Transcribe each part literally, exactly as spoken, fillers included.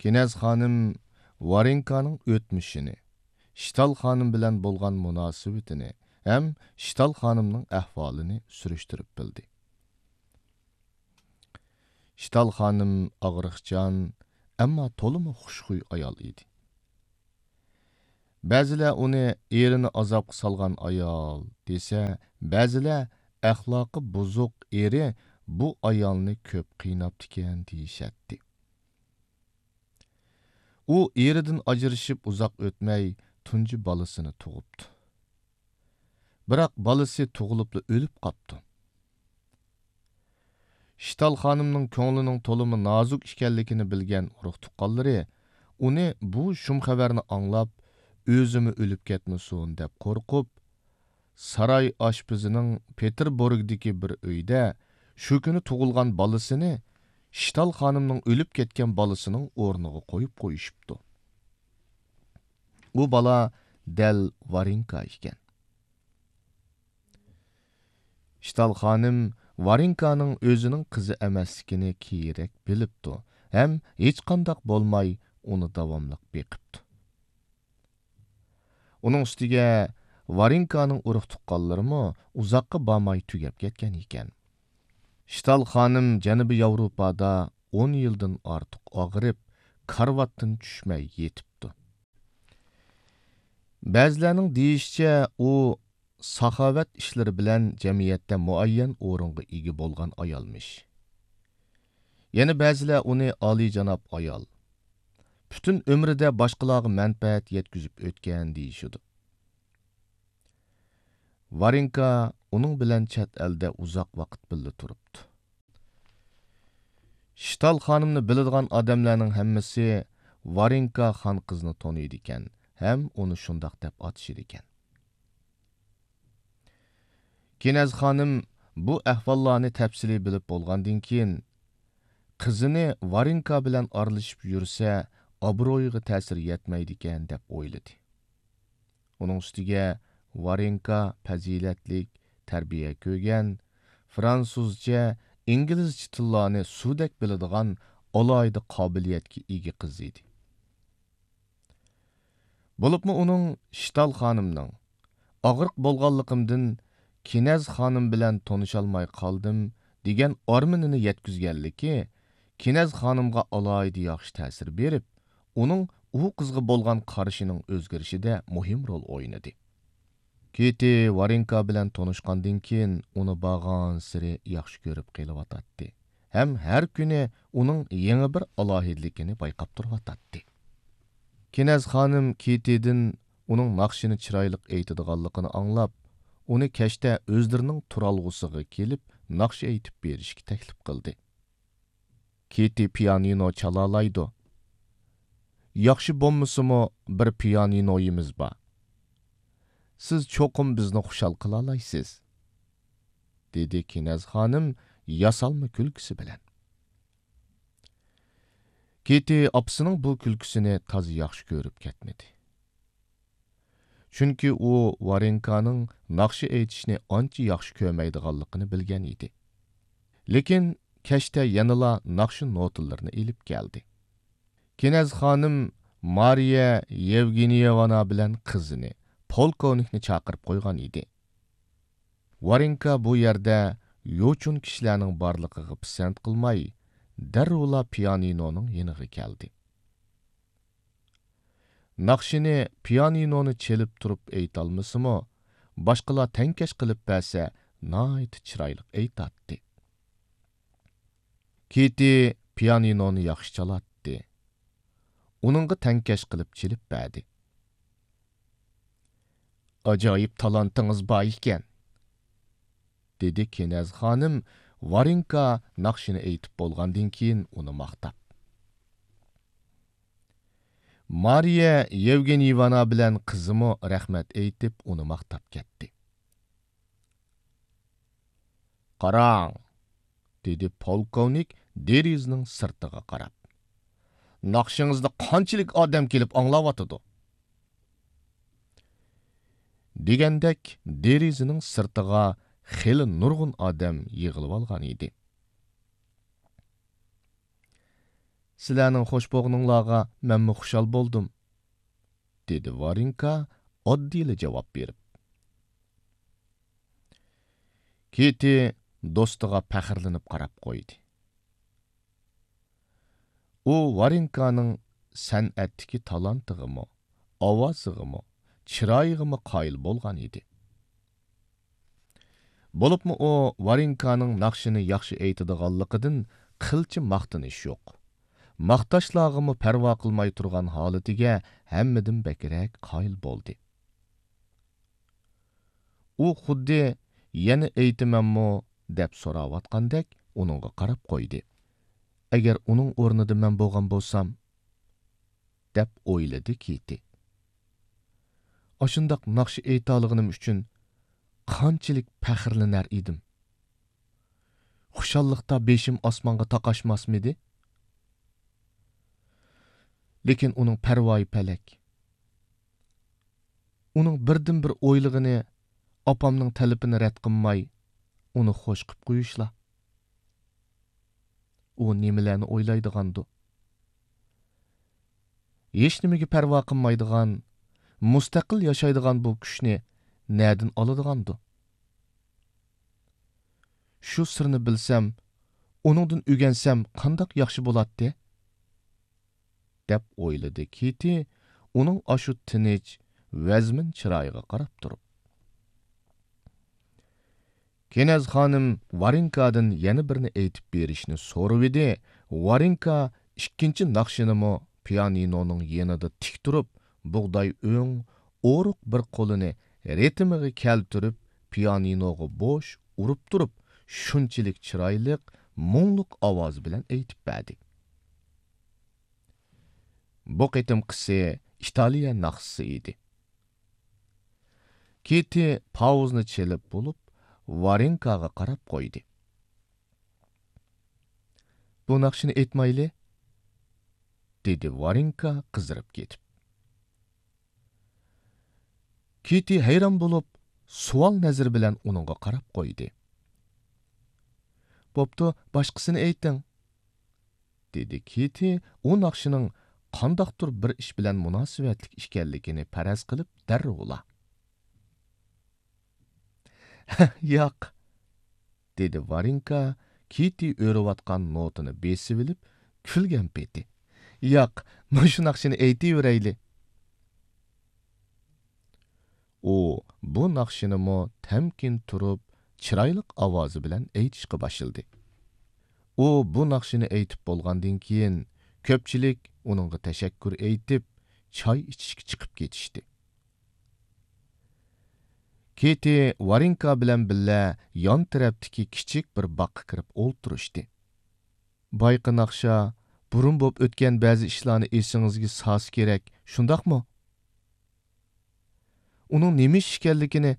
كىنەز خانىم ۋارېنكانىڭ ئۆتمۈشىنى، شتال خانىم بىلەن بولغان مۇناسىۋىتىنى ھەم شتال خانىمنىڭ ئەھۋالىنى سۈرۈشتۈرۈپ بىلدى. شتال خانىم ئاغرىقچان، ئەمما تولىمۇ خۇشخۇي ئايال ئىدى. بەزىلەر ئۇنى ئېرىنى ئازابقا سالغان ئايال دېسە، بەزىلەر ئەخلاقى بۇزۇق ئېرى بۇ ئايالنى كۆپ قىيناپتىكەن دېيىشەتتى. ئۇ ئېرىدىن ئاجرىشىپ ئۇزاق ئۆتمەي تۇنجى بالىسىنى تۇغۇپتۇ. بىراق بالىسى تۇغۇلۇپلا ئۆلۈپ قاپتۇ. شتال خانىمنىڭ كۆڭلىنىڭ تولىمۇ نازۇك ئىكەنلىكىنى بىلگەن ئۇرۇق-تۇغقانلىرى ئۇنى بۇ شۇم خەۋەرنى ئاڭلاپ، ئۆزىمۇ ئۆلۈپ كەتمىسۇن دەپ قورقۇپ، ساراي ئاشپىزىنىڭ پېتېربۇرگدىكى بىر ئۆيدە شۇ كۈنى تۇغۇلغان بالىسىنى شتال خانىمنىڭ ئۆلۈپ كەتكەن بالىسىنىڭ ئورنىغا قويۇپ قويۇشۇپتۇ. ئۇ بالا دەل ۋارېنكا ئىكەن. شتال خانىم ۋارېنكانىڭ ئۆزىنىڭ قىزى ئەمەسلىكىنى كېيىنرەك بىلىپتۇ ھەم ھېچقانداق بولماي ئۇنى داۋاملىق بېقىپتۇ. ئۇنىڭ ئۈستىگە ۋارېنكانىڭ ئۇرۇق-تۇغقانلىرىمۇ ئۇزاققا بارماي تۈگەپ كەتكەن ئىكەن. شتال خانىم جەنۇبىي ياۋروپادا ئون يىلدىن ئارتۇق ئاغرىپ، كارىۋاتتىن چۈشمەي يېتىپتۇ. بەزىلەرنىڭ دېيىشىچە، ئۇ ساخاۋەت ئىشلىرى بىلەن جەمئىيەتتە مۇئەييەن ئورۇنغا ئىگە بولغان ئايالمىش. يەنە بەزىلەر ئۇنى ئالىيجاناب ئايال، پۈتۈن ئۆمرىدە باشقىلارغا مەنپەئەت يەتكۈزۈپ ئۆتكەن دېيىشىدۇ. ۋارېنكا ئۇنىڭ بىلەن چەت ئەلدە ئۇزاق ۋاقىت بىللە تۇرۇپتۇ. شتال خانىمنى بىلىدىغان ئادەملەرنىڭ ھەممىسى ۋارېنكا خان قىزنى تونۇيدىكەن ھەم ئۇنى شۇنداق دەپ ئاتىشىدىكەن. كىنەز خانىم بۇ ئەھۋاللارنى تەپسىلىي بىلىپ بولغاندىن كېيىن، قىزىنى ۋارېنكا بىلەن ئارىلىشىپ يۈرسە، ئابرۇيىغا تەسىر يەتمەيدىكەن، دەپ ئويلىدى. ئۇنىڭ ئۈستىگە ۋارېنكا پەزىلەتلىك، تەربىيە كۆرگەن، فرانسۇزچە، ئىنگلىزچە تىللارنى سۇدەك بىلىدىغان ئالاھىدە قابىلىيەتكە ئىگە قىز ئىدى. بولۇپمۇ ئۇنىڭ شتال خانىمنىڭ، «ئاغرىق بولغانلىقىمدىن كىنەز خانىم بىلەن تونۇشالماي قالدىم» دېگەن ئارمىنىنى يەتكۈزگەنلىكى كىنەز خانىمغا ئالاھىدە ياخشى تەسىر بېرىپ، ئۇنىڭ ئۇ قىزغا بولغان قارىشىنىڭ ئۆزگىرىشىدە مۇھىم رول ئوينىدى. كىتى ۋارېنكا بىلەن تونۇشقاندىن كېيىن، ئۇنى بارغانسېرى ياخشى كۆرۈپ قېلىۋاتاتتى ھەم ھەر كۈنى ئۇنىڭ يېڭى بىر ئالاھىدىلىكىنى بايقاپ تۇرۇۋاتاتتى. كىنەز خانىم كىتىدىن ئۇنىڭ ناخشىنى چىرايلىق ئېيتىدىغانلىقىنى ئاڭلاپ، ئۇنى كەچتە ئۆزلىرىنىڭ تۇرالغۇسىغا كېلىپ، ناخشا ئېيتىپ بېرىشكە تەكلىپ قىلدى. «كىتى پىيانىنو چالالايدۇ. ياخشى بولمىسىمۇ، بىر پىيانىنويىمىز بار. سىز چوقۇم بىزنى خۇشال قىلالايسىز»، دېدى كىنەز خانىم ياسالما كۈلكىسى بىلەن. كىتى ئاپىسىنىڭ بۇ كۈلكىسىنى تازا ياخشى كۆرۈپ كەتمىدى. چۈنكى ئۇ ۋارېنكانىڭ ناخشا ئېيتىشنى ئانچە ياخشى كۆرمەيدىغانلىقىنى بىلگەن ئىدى. لېكىن كەچتە يەنىلا ناخشا نوتىلىرىنى ئېلىپ كەلدى. كىنەز خانىم مارىيە يېۋگېنيېۋنا بىلەن قىزىنى، پولكوۋنىكنى چاقىرىپ قويغان ئىدى. ۋارېنكا بۇ يەردە يوچۇن كىشىلەرنىڭ بارلىقىغا پىسەنت قىلماي، دەررۇلا پىيانىنونىڭ يېنىغا كەلدى. ناخشىنى پىيانىنونى چېلىپ تۇرۇپ ئېيتالمىسىمۇ، باشقىلار تەڭكەش قىلىپ بەرسە، ناھايىتى چىرايلىق ئېيتاتتى. كىتى پىيانىنونى ياخشى چالاتتى. ئۇنىڭغا تەڭكەش قىلىپ چېلىپ بەردى. «ئاجايىپ تالانتىڭىز بار ئىكەن»، دېدى كىنەز خانىم ۋارېنكا ناخشىنى ئېيتىپ بولغاندىن كېيىن ئۇنى ماختاپ. مارىيە يېۋگېنيېۋنا بىلەن قىزىمۇ رەھمەت ئېيتىپ، ئۇنى ماختاپ كەتتى. «قاراڭ»، دېدى پولكوۋنىك دېرىزىنىڭ سىرتىغا قاراپ. «ناخشىڭىزنى قانچىلىك ئادەم كېلىپ ئاڭلاۋاتىدۇ؟» دېگەندەك، دېرىزىنىڭ سىرتىغا خېلى نۇرغۇن ئادەم يىغىلىۋالغان ئىدى. سىلەرنىڭ خوش بولغىنىڭلارغا مەنمۇ خۇشال بولدۇم، دېدى ۋارېنكا ئاددىيلا جاۋاب بېرىپ. كىتى دوستىغا پەخىرلىنىپ قاراپ قويدى. ئۇ ۋارېنكانىڭ سەنئەتتىكى تالانتىغىمۇ، ئاۋازىغىمۇ، چىرايىغىمۇ قايىل بولغان ئىدى. بولۇپمۇ ئۇ ۋارېنكانىڭ ناخشىنى ياخشى ئېيتىدىغانلىقىدىن قىلچە ماختىنىش يوق. ماختاشلارغىمۇ پەرۋا قىلماي تۇرغان ھالىتىگە ھەممىدىن بەكرەك قايىل بولدى. ئۇ خۇددى «يەنە ئېيتىمەنمۇ؟» دەپ سوراۋاتقاندەك ئۇنىڭغا قاراپ قويدى. «ئەگەر ئۇنىڭ ئورنىدا مەن بولغان بولسام»، دەپ ئويلىدى كىتى. «ئاشۇنداق ناخشا ئېيتالىغىنىم ئۈچۈن قانچىلىك پەخىرلىنەر ئىدىم. خۇشاللىقتا بېشىم ئاسمانغا تاقاشماسمىدى؟» لېكىن ئۇنىڭ پەرۋايى پەلەك. ئۇنىڭ بىردىنبىر ئويلىغىنى ئاپامنىڭ تەلىپىنى رەت قىلماي، ئۇنى خوش قىپ قويۇشلا. ئۇ نېمىلەرنى ئويلايدىغاندۇ؟ ھېچنېمىگە پەرۋا قىلمايدىغان، مۇستەقىل ياشايدىغان بۇ كۈچنى نەدىن ئالىدىغاندۇ؟ «شۇ سىرنى بىلسەم، ئۇنىڭدىن ئۆگەنسەم قانداق ياخشى بولاتتى؟» دەپ ئويلىدى كىتى ئۇنىڭ ئاشۇ تىنچ، ۋەزمىن چىرايىغا قاراپ تۇرۇپ. كېنەز خانىم ۋارېنكادىن يەنە بىرنى ئېيتىپ بېرىشنى سورىۋىدى. ۋارېنكا ئىككىنچى ناخشىنىمۇ پىيانىنونىڭ يېنىدا تىك تۇرۇپ، بۇغداي ئۆڭ، ئورۇق بىر قولىنى رىتىمىغا كەلتۈرۈپ، پىيانىنوغا بوش ئۇرۇپ تۇرۇپ، شۇنچىلىك چىرايلىق، مۇڭلۇق ئاۋازى بىلەن ئېيتىپ بەردى. بۇ قېتىمقىسى ئىتالىيە ناخشىسى ئىدى. كىتى پاۋۇزنى چېلىپ بولۇپ، ۋارېنكاغا قاراپ قويدى. «بۇ ناخشىنى ئېيتمايلى؟» دېدى ۋارېنكا قىزىرىپ كېتىپ. كىتى ھەيران بولۇپ، سوئال نەزىرى بىلەن ئۇنىڭغا قاراپ قويدى. «بوپتۇ، باشقىسىنى ئېيتىڭ.» دېدى كىتى ئۇ ناخشىنىڭ قانداقتۇر بىر ئىش بىلەن مۇناسىۋەتلىك ئىكەنلىكىنى پەرەز قىلىپ دەررۇلا. «ياق.» دېدى ۋارېنكا كىتى ئۆرۈۋاتقان نوتىنى بېسىۋېلىپ كۈلگەن پېتى. «ياق، مۇشۇ ناخشىنى ئېيتىۋېرەيلى.» ئۇ بۇ ناخشىنىمۇ تەمكىن تۇرۇپ، چىرايلىق ئاۋازى بىلەن ئېيتىشقا باشلىدى. ئۇ بۇ ناخشىنى ئېيتىپ بولغاندىن كېيىن، كۆپچىلىك ئۇنىڭغا تەشەككۈر ئېيتىپ، چاي ئىچىشكە چىقىپ كېتىشتى. كىتى ۋارېنكا بىلەن بىللە يان تەرەپتىكى كىچىك بىر باغقا كىرىپ ئولتۇرۇشتى. «بايىقى ناخشا بۇرۇن بولۇپ ئۆتكەن بەزى ئىشلارنى ئېسىڭىزگە سالسا كېرەك، شۇنداقمۇ؟ ئۇنىڭ نېمە ئىش ئىكەنلىكىنى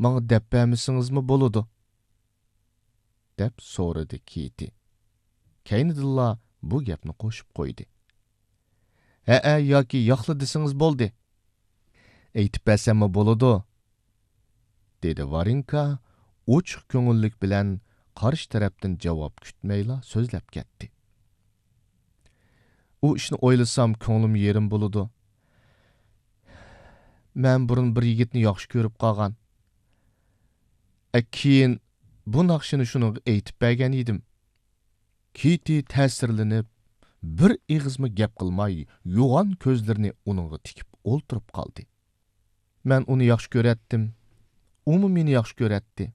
ماڭا دەپ بەرمىسىڭىزمۇ بولىدۇ.» دەپ سورىدى كىتى. كەينىدىنلا بۇ گەپنى قوشۇپ قويدى. «ھەئە ياكى ياقلا دېسىڭىز بولدى.» «ئېيتىپ بەرسەممۇ بولىدۇ.» دېدى ۋارېنكا ئوچۇق كۆڭۈللۈك بىلەن قارشى تەرەپتىن جاۋاب كۈتمەيلا سۆزلەپ كەتتى. «ئۇ ئىشنى ئويلىسام كۆڭلۈم يېرىم بولىدۇ. مەن بۇرۇن بىر يىگىتنى ياخشى كۆرۈپ قالغان. ئە، كېيىن بۇ ناخشىنى شۇنىڭغا ئېيتىپ بەرگەن ئىدىم.» كىتى تەسىرلىنىپ، بىر ئېغىزمۇ گەپ قىلماي، يوغان كۆزلىرىنى ئۇنىڭغا تىكىپ ئولتۇرۇپ قالدى. «مەن ئۇنى ياخشى كۆرەتتىم، ئۇمۇ مېنى ياخشى كۆرەتتى.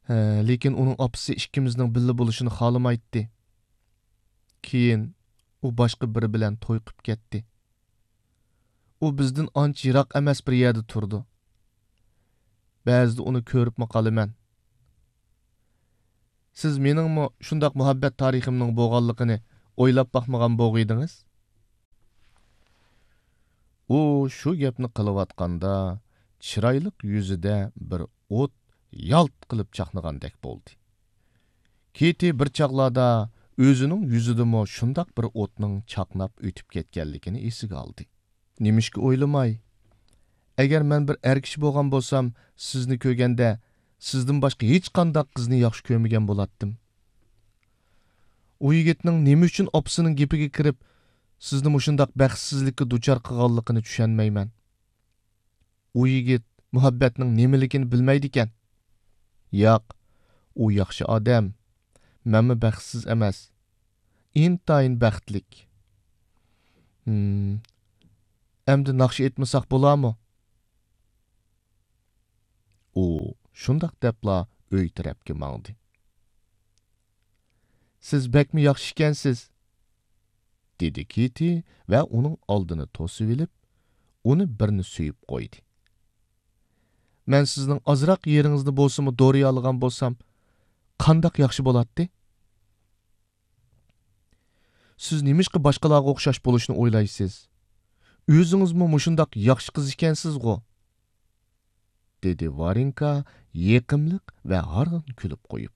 ھە، لېكىن ئۇنىڭ ئاپىسى ئىككىمىزنىڭ بىللە بولۇشىنى خالىمايتتى. كېيىن ئۇ باشقا بىرى بىلەن توي قىپ كەتتى. ئۇ بىزدىن ئانچە يىراق ئەمەس بىر يەردە تۇرىدۇ. بەزىدە ئۇنى كۆرۈپمۇ قالىمەن. سىز مېنىڭمۇ شۇنداق مۇھەببەت تارىخىمنىڭ بولغانلىقىنى ئويلاپ باقمىغان بولغىيدىڭىز.» ئۇ شۇ گەپنى قىلىۋاتقاندا، چىرايلىق يۈزىدە بىر ئوت يالت قىلىپ چاقنىغاندەك بولدى. كىتى بىر چاغلاردا ئۆزىنىڭ يۈزىدىمۇ شۇنداق بىر ئوتنىڭ چاقناپ ئۆتۈپ كەتكەنلىكىنى ئېسىگە ئالدى. «نېمىشقا ئويلىماي؟ ئەگەر مەن بىر ئەر كىشى بولغان بولسام، سىزنى كۆرگەندە، سىزدىن باشقا ھېچقانداق قىزنى ياخشى كۆرمىگەن بولاتتىم. ئۇ يىگىتنىڭ نېمە ئۈچۈن ئاپىسىنىڭ گېپىگە كىرىپ، سىزنى مۇشۇنداق بەختسىزلىككە دۇچار قىلغانلىقىنى چۈشەنمەيمەن. ئۇ يىگىت مۇھەببەتنىڭ نېمىلىكىنى بىلمەيدىكەن. ياق، ئۇ ياخشى ئادەم. مەنمۇ بەختسىز ئەمەس. ئىنتايىن بەختلىك. ھىم. ئەمدى ناخشا ئېيتمىساق بولارمۇ؟ ئۇ شۇنداق دەپلا ئۆي تەرەپكە ماڭدى. سىز بەكمۇ ياخشى ئىكەنسىز، دېدى كىتى ۋە ئۇنىڭ ئالدىنى توسۇۋېلىپ، ئۇنى بىرنى سۆيۈپ قويدى. مەن سىزنىڭ ئازراق يېرىڭىزنى بولسىمۇ دورىيالىغان بولسام، قانداق ياخشى بولاتتى؟ سىز نېمىشقا باشقىلارغا ئوخشاش بولۇشنى ئويلايسىز؟ ئۆزىڭىزمۇ مۇشۇنداق ياخشى قىز ئىكەنسىزغۇ؟ دېدى ۋارېنكا يېقىملىق ۋە ھارغىن كۈلۈپ قويۇپ.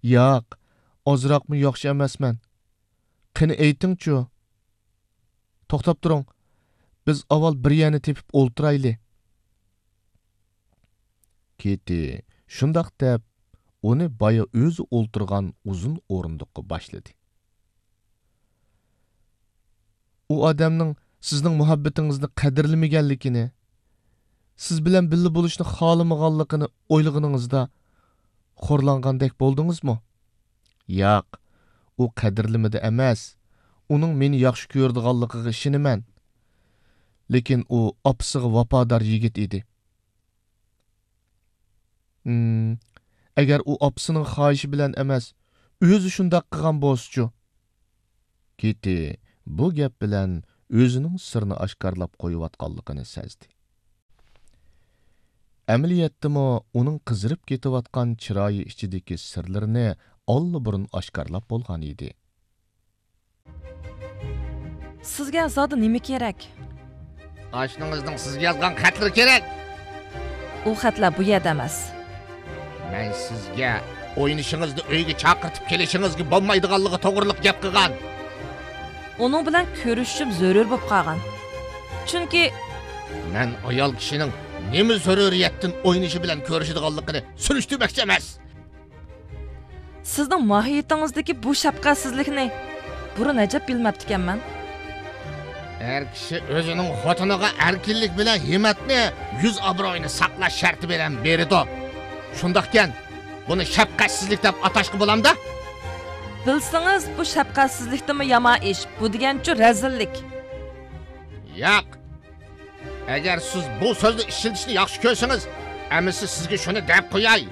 ياق، ئازراقمۇ ياخشى ئەمەسمەن. قېنى ئېيتىڭچۇ؟ توختاپ تۇرۇڭ، بىز ئاۋۋال بىر يەرنى تېپىپ ئولتۇرايلى. كىتى شۇنداق دەپ، ئۇنى بايا ئۆزى ئولتۇرغان ئۇزۇن ئورۇندۇققا باشلىدى. ئۇ ئادەمنىڭ سىزنىڭ مۇھەببىتىڭىزنى قەدىرلىمىگەنلىكىنى، سىز بىلەن بىللە بولۇشنى خالىمىغانلىقىنى ئويلىغىنىڭىزدا خورلانغاندەك بولدىڭىزمۇ؟ ياق، ئۇ قەدىرلىمىدى ئەمەس، ئۇنىڭ مېنى ياخشى كۆرىدىغانلىقىغا ئىشىنىمەن. لېكىن ئۇ ئاپىسىغا ۋاپادار يىگىت ئىدى. ھىم، ئەگەر ئۇ ئاپىسىنىڭ خاھىشى بىلەن ئەمەس، ئۆزى شۇنداق قىلغان بولسىچۇ؟ كىتى بۇ گەپ بىلەن ئۆزىنىڭ سىرنى ئاشكارىلاپ قويۇۋاتقانلىقىنى سەزدى. ئەمەلىيەتتىمۇ ئۇنىڭ قىزىرىپ كېتىۋاتقان چىرايى ئىچىدىكى سىرلىرىنى ئاللىبۇرۇن ئاشكارىلاپ بولغان ئىدى. سىزگە زادى نېمە كېرەك؟ ئاشنىڭىزنىڭ سىزگە يازغان خەتلىرى كېرەك. ئۇ خەتلەر بۇ يەردە ئەمەس. مەن سىزگە ئوينىشىڭىزنى ئۆيگە چاقىرتىپ كېلىشىڭىزگە بولمايدىغانلىقى توغرىلىق گەپ قىلغان. ئۇنىڭ بىلەن كۆرۈشۈشۈم زۆرۈر بولۇپ قالغان. چۈنكى مەن ئايال كىشىنىڭ نېمە زۆرۈرىيەتتىن ئوينىشى بىلەن كۆرۈشىدىغانلىقىنى سۈرۈشتۈرمەكچى ئەمەس. سىزنىڭ ماھىيىتىڭىزدىكى بۇ شەپقەتسىزلىكنى بۇرۇن ئەجەب بىلمەپتىكەنمەن. ئەر كىشى ئۆزىنىڭ خوتۇنىغا ئەركىنلىك بىلەن ھىممەتنى، يۈز ئابرۇيىنى ساقلاش شەرتى بىلەن بېرىدۇ. شۇنداقكەن، بۇنى شەپقەتسىزلىك دەپ ئاتاشقا بولامدا؟ بىلسىڭىز، بۇ شەپقەتسىزلىكتىنمۇ يامان ئىش. بۇ دېگەنچۇ رەزىللىك. ياق. ئەگەر سىز بۇ سۆزنى ئىشلىتىشنى ياخشى كۆرسىڭىز، ئەمىسە سىزگە شۇنى دەپ قوياي.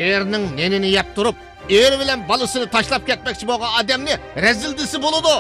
ئېرىنىڭ نېنىنى يەپ تۇرۇپ، ئېرى بىلەن بالىسىنى تاشلاپ كەتمەكچى بولغان ئادەمنى رەزىل دېسە بولىدۇ.